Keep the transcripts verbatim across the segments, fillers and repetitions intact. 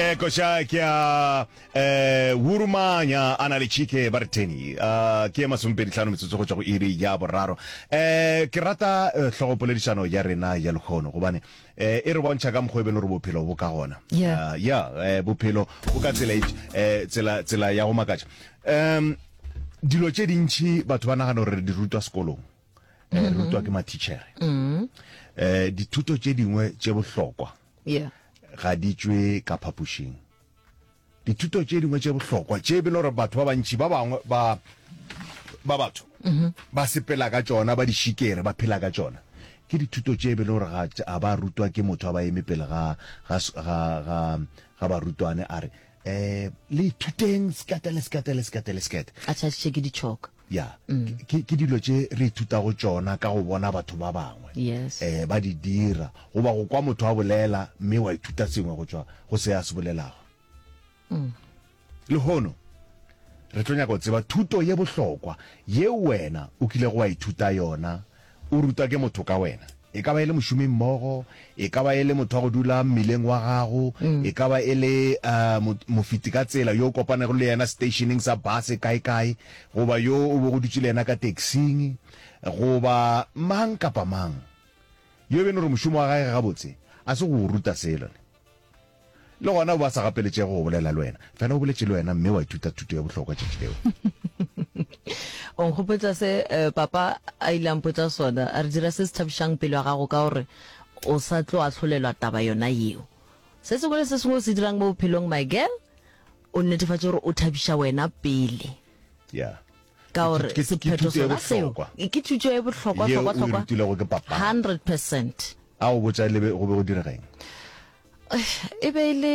Eh koša ke ya eh Wurumanya a na le Chike ba re Teni. Uh, ke ye masomepedi hlano metsotso go tšwa go iri ya boraro. Eh ke rata eh, hlogopoledišano ya rena ya lehono gobane eh e re bontšha ka mokgwa e beng gore bophelo bo ka gona. Yeah. Uh, ya eh, bophelo bo ka tsela e eh, tsela tsela ya go makatša. Um dilo tše dintši batho ba nagana gore re di rutwa sekolong. Eh, re rutwa ke mathitšhere. Eh dithuto tše dingwe tše bohlokwa Yeah. ga di tšwe ka phapošing. Dithuto tše dingwe tše bohlokwa tše e bile gore batho ba bantši ba bangwe ba ba batho ba sepela ka tšona, ba di šikere, ba phela ka tšona, ke dithuto tše e bile gore ga a ba rutwa ke motho a ba eme pele ga ga ga ga ga barutwane a re eh le ithuteng sekete le sekete le sekete le sekete. A tšhatšitše ke ditšhoka. Ya, ke ke dilo tše re ithutago tšona ka go bona batho ba bangwe Yes. eh ba di dira goba go kwa motho a bolela mme wa ithuta sengwe go tšwa go se a se bolelago. Lehono re tlo nyaka go tseba thuto ye bohlokwa yeo wena o kilego wa ithuta yona o rutwa ke motho ka wena. E ka ba e le mošomimmogo, e ka ba e le motho wa go dula mmileng wa gago, e ka ba e le uh, mofeti ka tsela yo o kopanego le yena stationeng sa base kae-kae, goba yo o bego o dutše le yena ka taxing, goba mang kapa mang yo e beno gore mošomo wa gage gabotse a se go o ruta selo ne. Le gona o ba sa gapeletšege go bolela le wena, fela o boletše le wena mme wa ithuta thuto ya bohlokwa tšatši leo. O nkgopotša se eh, papa a ile a mpotša sona, a re dira se se thabišang pelo ya gago ka gore o sa tlo ahlolelwa taba yona yeo. Se sengwe le se sengwe o se dirang mo bophelong, my girl, o netefatše gore o thabiša wena pele. Yeah. Ka gore Ke- ke- ke sephetho thuto ye sona seo bohlokwa. ke thuto ye bohlokwa Yeo hlokwa o e hlokwa rutilwego ke papa. hundred percent. A go botša le be go be go direga eng? E be e le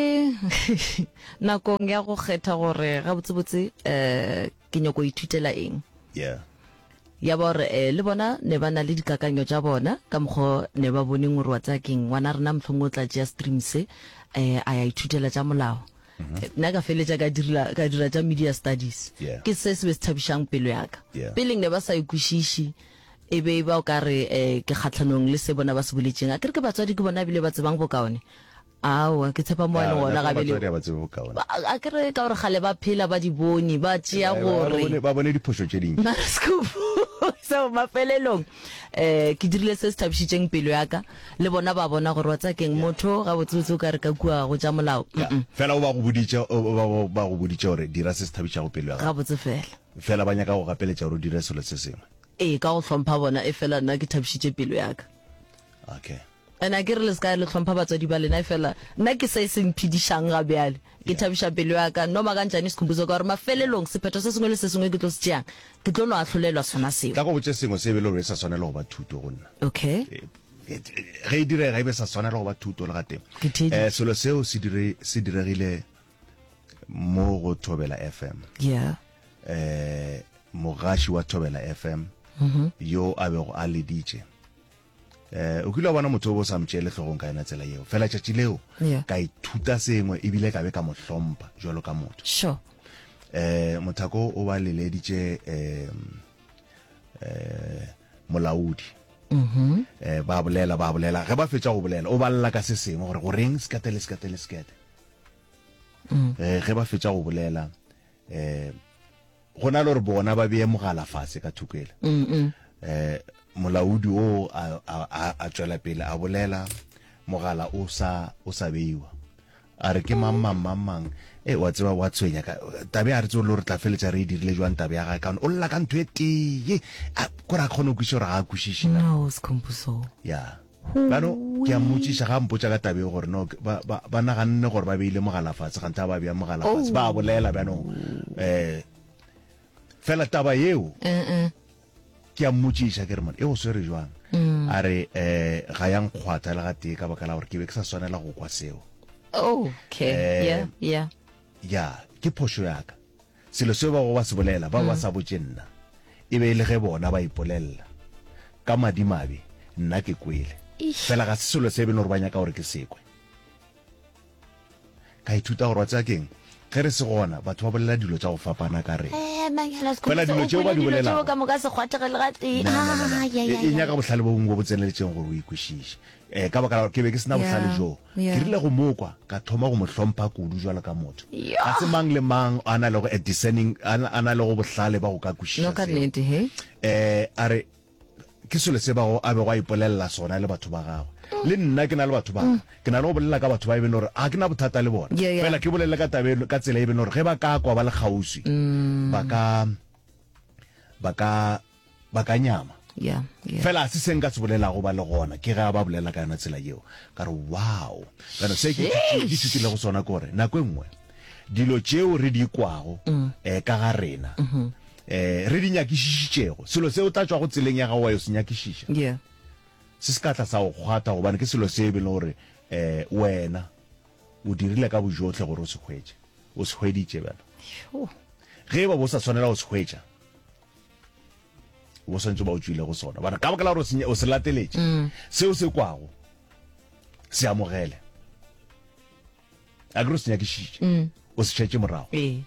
nakong ya go kgetha gore gabotsebotse um ke nyako ithutela eng. Yeah. Ya ba gore eh, le bona ne ba na le dikakanyo tša bona ka mokgwa ne ba boneng gore wa tsaya keng ngwana rena mohlomongwe o tla tšea stream se eh, a ya ithutela tša molao. Nna ka feletša ka direla ka dira tša media studies. Yeah. Ke se se be se thabišang pelo ya ka. Yeah. Peleng ne ba sa e kwešiše e be e ba o ka re eh, ke kgatlhanong le se bona ba se boletšeng. A ke re ke batswadi ke bona ebile ba tsebang bokaone. Aowa, ke tshepa mo Ya, le gona nako ga bele. batswadi ha ba tsebe bokaone. Ba- A ke re ka gore kgale ba phela ba di bone ba tšea Ba- ba gore bone- ba bone diphošo tše dintši. Mara scoop. So mafelelong eh ke dirile se se thabišitšeng pelo ya ka le bona ba bona gore wa tsaya keng motho ga botsebotse o ka re ka kua go tša molao. Ya, Mm-mm. fela o ba go boditše o ba ba- ba go boditše gore dira se se thabišago pelo ya gago. Gabotse fela. Fela ba nyaka go gapeletša gore o dire selo se sengwe. Ee, ka go hlompha bona e fela nna ke thabišitše pelo ya ka. Okay. And a ke re le se ka le hlompha batswadi ba lena e fela nna ke se se mphedišang ga bjale. Ke thabiša pelo ya ka no makantšane Sikhumbuzo ka gore mafelelong sephetho se sengwe le se sengwe ke tlo se tšeang ke tlo no ahlolelwa sona seo. Tla go botše sengwe se e be le gore e sa swanela go ba thuto go nna. Okay. Ge e direga e be sa swanela go ba thuto le gatee. Ke theeditše. Eh selo seo se dire se diregile mo go Thobela F M. Yeah. Eh mogaši wa Thobela F M yo a bego a leditše. Eh o kile wa bona motho o bo sa mtšeele hlogong ka yona tsela yeo. Fela tšatši leo Yeah. ka ithuta sengwe ebile ka be ka mo hlompha jwalo ka motho. Sure. Eh mothako o ba leleditše eh eh molaodi. Mhm. Eh ba bolela ba bolela ge ba fetša go bolela o ba lla ka se sengwe gore goreng sekete le sekete le sekete. Mm. Eh ge ba fetša go bolela eh go na le gore bona ba beye mogala fase ka thokela. Mm. mm. Eh molaodi o a, a, a, a tšwela pele a bolela mogala o sa o sa beiwa. A re ke mang mang mang mang e wa tseba wa tshwenya ka tabe a re tsebe le gore tla feletša re e dirile jwang tabe ya gagwe ka o lla ka ntho e tee a kore a kgone go kwešiša gore ga a kwešiše na. No, Sikhumbuzo. Ya. Bjano ke a mmotšiša ga a mpotša ka tabe gore no ba, ba, ba naganne gore ba beile mogala fatshe ganthe a ba bea mogala fatshe Oh. ba bolela bjanong eh fela taba yeo Eh eh. ke a mmotšiša ke re mone e go swere jwang Mm. a re eh ga ya nkgwatha le gatee ka baka la gore ke be ke sa swanela go kwa seo. Okay. Eh, Yeah, yeah. Ya, ke phošo ya ka. Selo seo ba go ba se bolela ba ba sa botše nna. E be e le ge bona ba ipolelela. Ka madimabe nna ke kwele. Eish. Fela ga se selo se e beng gore ba nyaka gore ke se kwe. Ka ithuta gore wa tseba keng ge re se gona batho ba bolela dilo tša go fapana ka rena. Fela dilo tšeo ba di bolelago ka moka se kgwathege le gatee. Na, na, na, na. E, e nyaka bohlale bo bongwe bo bo tseneletšeng gore o e kwešiše. Um ka baka la gore ke be ke se na bohlale Yeah, bjoo. Ke yeah. rile go mo kwa, ka thoma go mo hlompha kudu jwalo ka motho. Yeah. Ga se mang le mang a na lego a discerning, a na, a na lego bohlale ba go ka No kwešiša ka seo. nnete, he. Um a re, Ke selo se bago a bego a ipolelela sona le batho ba gagwe. Le nna ke na le batho ba ka. Ke na le go bolela ka batho ba e beng gore ga ke na bothata le bona. Yeah, yeah. Fela ke bolele ka taba e, ka tsela e beng gore ge ba ka kwa ba le kgauswi, ba ka, ba ka, ba ka nyama. Yeah, yeah. Fela ga se se nka se bolelago ba le gona, ke ge a ba bolela ka yona tsela yeo. Ka re, Wow! Bjalo se ke ke ithutilego sona ke gore nako e nngwe dilo tšeo re di kwago eh, ka ga rena eh, re di nyakišišitšego, selo se o tla tšwago tseleng ya gago wa yo se nyakišiša, Yeah. se se ka tla sa go kgwatha, gobane ke selo se e beng le gore eh, wena o dirile ka bojohle gore o se hwetše, o se hweditše. Bjalo Sure. ge e ba bo sa tshwanela go se hwetša, o bo swantse ba o tšwile go sona, bana ka baka la gore o se- o se lateletše, seo se kwago se amogele, a ke re o se nyakišiše, o se šetše morago. Ee.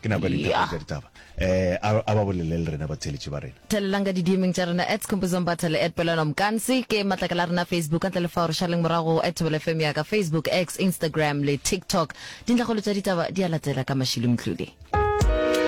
Ke nako ya Yeah. ditaba tša ditaba. Eh, a a ba bolele le rena batheeletši ba rena. Thelelang ka di-D-meng tša rena at Skhumbuzo Mbatha le at Pelwana Mkansi ke matlakala a rena Facebook ka ntle le fao re šaleng morago at Thobela F M ya ka Facebook, X, Instagram le TikTok. Dintlhakgolo tša ditaba di a latela ka Mashilo Mdluli.